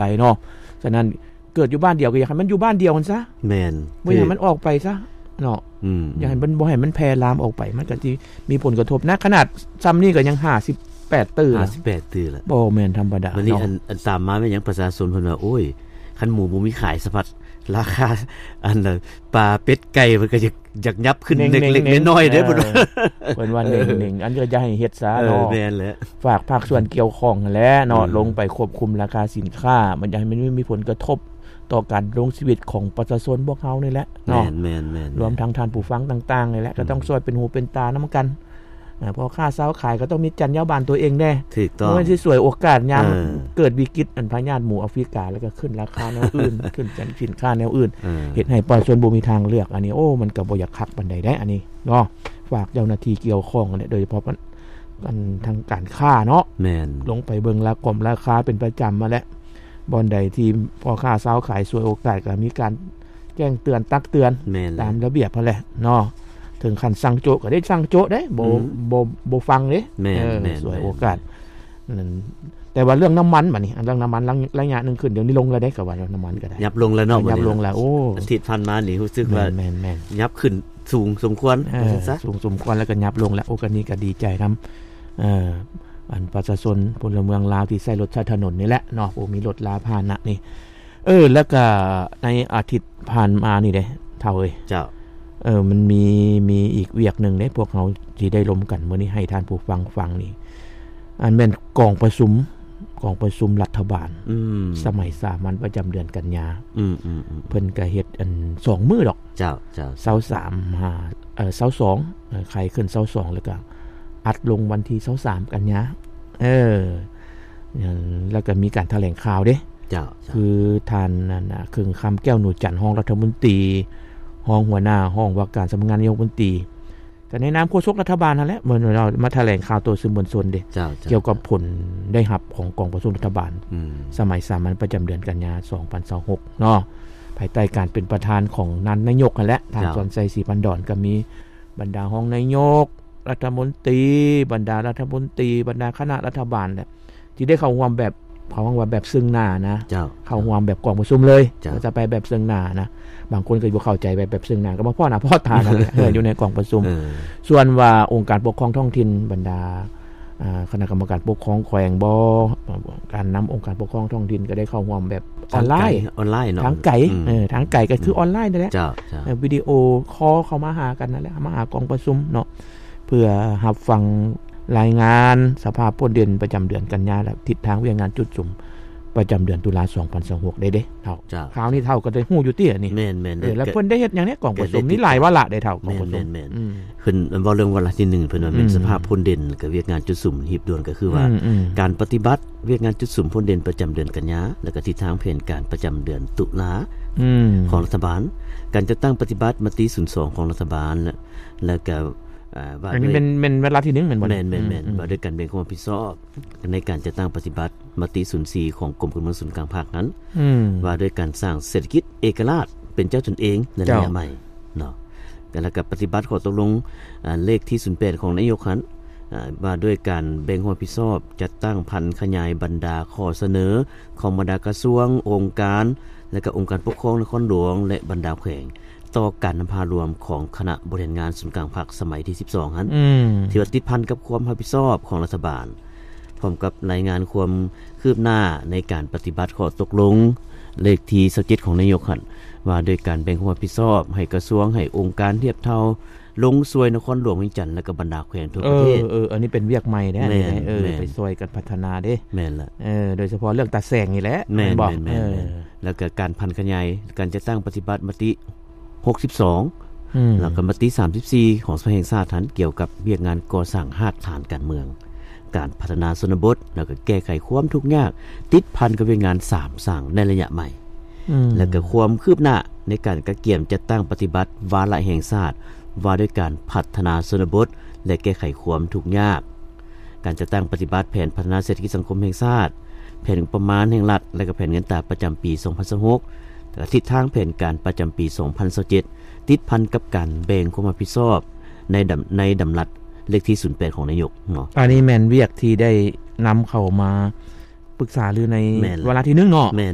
ໄປເນາະ. ສະນັ້ນເກີດຢູ່ບ້ານດຽວກໍຢາກໃຫ້ມັນຢູ່ບ້ານດຽວຫັ້ນຊະ ແມ່ນ ບໍ່ຢາກໃຫ້ມັນອອກໄປຊະເນາະ. ອືມ ຢາກໃຫ້ມັນ ບໍ່ໃຫ້ມັນແຜ່ລາມອອກໄປ ມັນກໍຊິມີຜົນກະທົບນະ. ຂະໜາດຊ່ຳນີ້ກໍຍັງຫ້າສິບແປດຕື້ລະ ຫ້າສິບແປດຕື້ລະ ບໍ່ແມ່ນທຳມະດາ. ບັດນີ້ເນາະ ອັນ ອັນຕາມມາແມ່ນຫຍັງ? ປະຊາຊົນເພິ່ນວ່າ ໂອ້ຍ ຄັນໝູບໍ່ມີຂາຍສະພັດ ລາຄາ ອັນ ປາ ເປັດ ໄກ່ ມັນກໍຢາກ ຢາກຫຍັບຂຶ້ນເລັກໆນ້ອຍໆເດ້ ເອີ ເພິ່ນວ່າ ເພິ່ນວ່າເໜັງໆ ອັນກໍຢ່າໃຫ້ເຮັດຊະເນາະ. ເອີ ແມ່ນແຫຼະ ຝາກພາກສ່ວນກ່ຽວຂ້ອງຫັ້ນແຫຼະເນາະ ອືມ ລົງໄປຄວບຄຸມລາຄາສິນຄ້າ ມັນຢາກໃຫ້ມັນມີ ມີຜົນກະທົບຕໍ່ການດຳລົງຊີວິດຂອງປະຊາຊົນພວກເຮົານີ້ແຫຼະເນາະ. ແມ່ນໆໆໆ ລວມທັງທ່ານຜູ້ຟັງຕ່າງໆນີ້ແຫຼະ ອືມ ກໍຕ້ອງຊ່ວຍເປັນຫູເປັນຕານຳກັນ. ອ່າ ພໍ່ຄ້າຊາວຂາຍກໍຕ້ອງມີຈັນຍາບານຕົວເອງແດ່ ຖືກຕ້ອງ ບໍ່ແມ່ນຊິສວຍໂອກາດຍາມ ເອີ ເກີດວິກິດ ອັນພະຍາດໝູອາຟຣິກາ ແລ້ວກໍຂຶ້ນລາຄາແນວອື່ນ ຂຶ້ນຈັນສິນຄ້າແນວອື່ນ ເອີ ເຮັດໃຫ້ປະຊາຊົນບໍ່ມີທາງເລືອກ. ອັນນີ້ ໂອ້ ມັນກໍບໍ່ຢາກຄັກປານໃດເດ້ ອັນນີ້ເນາະ. ຝາກເຈົ້າໜ້າທີ່ກ່ຽວຂ້ອງຫັ້ນແຫຼະ ໂດຍສະເພາະ ອັນ ທາງການຄ້າເນາະ ແມ່ນ ລົງໄປເບິ່ງລາຄອງລາຄາເປັນປະຈຳຫັ້ນແຫຼະ. ບ່ອນໃດທີ່ພໍ່ຄ້າຊາວຂາຍສວຍໂອກາດ ກໍມີການແຈ້ງເຕືອນຕັກເຕືອນ ແມ່ນແຫຼະ ຕາມລະບຽບຫັ້ນແຫຼະເນາະ. ເຖິງຂັ້ນສັ່ງໂຈະກໍໄດ້ສັ່ງໂຈະເດ້ ບໍ່ ອືມ ບໍ່ ບໍ່ຟັງເດ້. ແມ່ນ ເອີ ແມ່ນ ສວຍໂອກາດ ແມ່ນ ນັ້ນ. ແຕ່ວ່າເລື່ອງນ້ຳມັນບັດນີ້ ອັນເລື່ອງນ້ຳມັນ ໄລຍະໜຶ່ງຂຶ້ນ ດຽວນີ້ລົງແລ້ວເດ້ ກໍວ່ານ້ຳມັນກໍໄດ້ ຫຍັບລົງແລ້ວເນາະ ຫຍັບລົງແລ້ວ. ໂອ້ ອາທິດຜ່ານມານີ້ຮູ້ສຶກວ່າ ແມ່ນໆໆ ຫຍັບຂຶ້ນສູງສົມຄວນ ເອີ ວ່າຊັ້ນຊະ ສູງສົມຄວນ ແລ້ວກໍຫຍັບລົງແລ້ວ. ໂອ້ ກໍນີ້ກໍດີໃຈນຳ ເອີ ອັນປະຊາຊົນພົນລະເມືອງລາວທີ່ໃຊ້ລົດໃຊ້ຖະໜົນນີ້ແຫຼະເນາະ ຜູ້ມີລົດລາພາຫະນະນີ້. ເອີ ແລ້ວກະໃນອາທິດຜ່ານມານີ້ເດ້ເຖົ້າເອີຍ ເຈົ້າ ເອີ ມັນມີ ມີອີກວຽກໜຶ່ງເດ້ ພວກເຮົາຊິໄດ້ລົມກັນມື້ນີ້ ໃຫ້ທ່ານຜູ້ຟັງຟັງນີ້ ອັນແມ່ນກອງປະຊຸມ ກອງປະຊຸມລັດຖະບານ ອືມ ສະໄໝສາມັນປະຈຳເດືອນກັນຍາ ອືມໆໆ ເພິ່ນກະເຮັດອັນສອງມື້ດອກ ເຈົ້າ ເຈົ້າ ຊາວສາມ ຫາ ເອີ ຊາວສອງ ເອີ ໄຂຂຶ້ນຊາວສອງ ແລ້ວກະອັດລົງວັນທີຊາວສາມກັນຍາ ເອີ ແລ້ວກໍມີການຖະແຫຼງຂ່າວເດ້ ເຈົ້າ ເຈົ້າ ຄືທ່ານນັ້ນນະ ເຄິ່ງຄຳ ແກ້ວໜູຈັນ ຮອງລັດຖະມົນຕີ ຮອງຫົວໜ້າຫ້ອງວ່າການສຳນັກງານນາຍົກລັດຖະມົນຕີ ກໍໃນນາມໂຄສົກລັດຖະບານຫັ້ນແຫຼະ ເພິ່ນມາຖະແຫຼງຂ່າວຕໍ່ສື່ມວນຊົນເດ້ ເຈົ້າ ເຈົ້າ ກ່ຽວກັບຜົນໄດ້ຮັບຂອງກອງປະຊຸມລັດຖະບານ ອືມ ສະໄໝສາມັນປະຈຳເດືອນກັນຍາ ສອງພັນຊາວຫົກເນາະ ພາຍໃຕ້ການເປັນປະທານຂອງທ່ານນາຍົກຫັ້ນແຫຼະ ທ່ານ ເຈົ້າ ສອນໄຊ ສີພັນດອນ ກໍມີບັນດາຮອງນາຍົກ ລັດຖະມົນຕີ ບັນດາລັດຖະມົນຕີ ບັນດາຄະນະລັດຖະບານແຫຼະ ທີ່ໄດ້ເຂົ້າຮ່ວມແບບ ເຂົາເອີ້ນວ່າແບບເຊິ່ງໜ້ານະ ເຈົ້າ ເຂົ້າຮ່ວມແບບກອງປະຊຸມເລີຍ ເຈົ້າ ຈະໄປແບບເຊິ່ງໜ້ານະ ບາງຄົນກໍບໍ່ເຂົ້າໃຈແບບ ແບບເຊິ່ງໜ້າ ກໍມາພໍ້ໜ້າພໍ້ຕາກັນແຫຼະ ເອີ ຢູ່ໃນກອງປະຊຸມ ເອີ ສ່ວນວ່າອົງການປົກຄອງທ້ອງຖິ່ນ ບັນດາ ອ່າ ຄະນະກຳມະການປົກຄອງແຂວງບໍ ການນຳອົງການປົກຄອງທ້ອງຖິ່ນກໍໄດ້ເຂົ້າຮ່ວມແບບອອນລາຍ ທາງໄກ ອອນລາຍເນາະ ທາງໄກ ອືມ ເອີ ທາງໄກກໍຄື ອອນລາຍນັ້ນແຫຼະ ເຈົ້າ ເຈົ້າ ເອີ ວິດີໂອຄໍເຂົ້າມາຫາກັນນັ້ນແຫຼະ ມາຫາກອງປະຊຸມເນາະ ເພື່ອຮັບຟັງລາຍງານສະພາບພົ້ນເດັ່ນປະຈຳເດືອນກັນຍາ ແລະ ທິດທາງວຽກງານຈຸດສຸມປະຈຳເດືອນຕຸລາ ສອງພັນຊາວຫົກ ໄດ້ເດ້ເຖົ້າ ເຈົ້າ ຄາວນີ້ເຖົ້າກໍໄດ້ຮູ້ຢູ່ຕິອັນນີ້ ແມ່ນໆ ເອີ ແລ້ວເພິ່ນໄດ້ເຮັດຫຍັງແດ່ກອງປະຊຸມ ມີຫຼາຍວາລະເດ້ເຖົ້າ ກອງປະຊຸມ ແມ່ນໆ ອືມ ເພິ່ນເວົ້າເລື່ອງວາລະທີໜຶ່ງ ເພິ່ນວ່າແມ່ນ ອືມ ສະພາບພົ້ນເດັ່ນ ແລະ ວຽກງານຈຸດສຸມຮີບດ່ວນ ກໍຄືວ່າ ອືມໆ ການປະຕິບັດວຽກງານຈຸດສຸມພົ້ນເດັ່ນປະຈຳເດືອນກັນຍາ ແລະ ກະທິດທາງແຜນການປະຈຳເດືອນຕຸລາ ອືມ ຂອງລັດຖະບານ ການຈັດຕັ້ງປະຕິບັດມະຕິສູນສອງຂອງລັດຖະບານ ແລະ ແລະກະ ອ່າ ວ່າ ອັນນີ້ແມ່ນ ແມ່ນວາລະທີໜຶ່ງແມ່ນບໍ່? ແມ່ນໆໆ ອືມໆ ວ່າດ້ວຍການແບ່ງຄວາມຮັບຜິດຊອບໃນການຈັດຕັ້ງປະຕິບັດມະຕິສູນສີ່ຂອງກົມການເມືອງສູນກາງພັກຫັ້ນ ອືມ ວ່າດ້ວຍການສ້າງເສດຖະກິດເອກະລາດເປັນເຈົ້າຕົນເອງໃນໄລຍະໃໝ່ເນາະ ແລ້ວກະປະຕິບັດຂໍ້ຕົກລົງ ອ່າ ເລກທີສູນແປດຂອງນາຍົກຫັ້ນ ອ່າ ວ່າດ້ວຍການແບ່ງຄວາມຮັບຜິດຊອບ ຈັດຕັ້ງຜັນຂະຫຍາຍບັນດາຂໍ້ສະເໜີຂອງບັນດາກະຊວງ, ອົງການ ແລະ ກະອົງການປົກຄອງນະຄອນຫຼວງ ແລະ ບັນດາແຂວງ ຕໍ່ການນຳພາລວມຂອງຄະນະບໍລິຫານງານສູນກາງພັກສະໄໝທີສິບສອງຫັ້ນ ອືມ ທີ່ວ່າຕິດພັນກັບຄວາມຮັບຜິດຊອບຂອງລັດຖະບານ ພ້ອມກັບລາຍງານຄວາມຄືບໜ້າໃນການປະຕິບັດຂໍ້ຕົກລົງເລກທີຊາວເຈັດຂອງນາຍົກຫັ້ນ ວ່າດ້ວຍການແບ່ງຄວາມຮັບຜິດຊອບໃຫ້ກະຊວງ, ໃຫ້ອົງການທຽບເທົ່າ ລົງຊ່ວຍນະຄອນຫຼວງວຽງຈັນ ແລະ ກະບັນດາແຂວງທົ່ວປະເທດ. ເອີ ເອີ ອັນນີ້ເປັນວຽກໃໝ່ເດ້ ແມ່ນ ເອີ ແມ່ນ ໄປຊ່ວຍກັນພັດທະນາເດ້ ແມ່ນລະ ເອີ ໂດຍສະເພາະເລື່ອງຕາແສງນີ້ແຫຼະ ແມ່ນ ແມ່ນບໍ່? ແມ່ນ ເອີ ແມ່ນ ແລ້ວກະການຜັນຂະຫຍາຍ ການຈັດຕັ້ງປະຕິບັດມະຕິຫົກສິບສອງ ອືມ ແລ້ວກະມະຕິສາມສິບສີ່ຂອງສະພາແຫ່ງຊາດຫັ້ນ ກ່ຽວກັບວຽກງານກໍ່ສ້າງຮາກຖານການເມືອງ, ການພັດທະນາຊົນນະບົດ ແລ້ວກະແກ້ໄຂຄວາມທຸກຍາກ ຕິດພັນກັບວຽກງານສາມສ້າງໃນໄລຍະໃໝ່ ອືມ ແລະກະຄວາມຄືບໜ້າໃນການກະກຽມຈັດຕັ້ງປະຕິບັດວາລະແຫ່ງຊາດ ວ່າດ້ວຍການພັດທະນາຊົນນະບົດ ແລະ ແກ້ໄຂຄວາມທຸກຍາກ, ການຈັດຕັ້ງປະຕິບັດແຜນພັດທະນາເສດຖະກິດສັງຄົມແຫ່ງຊາດ, ແຜນງົບປະມານແຫ່ງລັດ ແລະ ກະແຜນເງິນຕາປະຈຳປີສອງພັນຊາວຫົກ ແລະ ທິດທາງແຜນການປະຈຳປີສອງພັນຊາວເຈັດ ຕິດພັນກັບການແບ່ງຄວາມຮັບຜິດຊອບໃນດຳ ໃນດຳລັດເລກທີສູນແປດຂອງນາຍົກເນາະ. ອັນນີ້ແມ່ນວຽກທີ່ໄດ້ນຳເຂົ້າມາ ປຶກສາລືໃນ ແມ່ນແຫຼະ ວາລະທີໜຶ່ງເນາະ. ແມ່ນ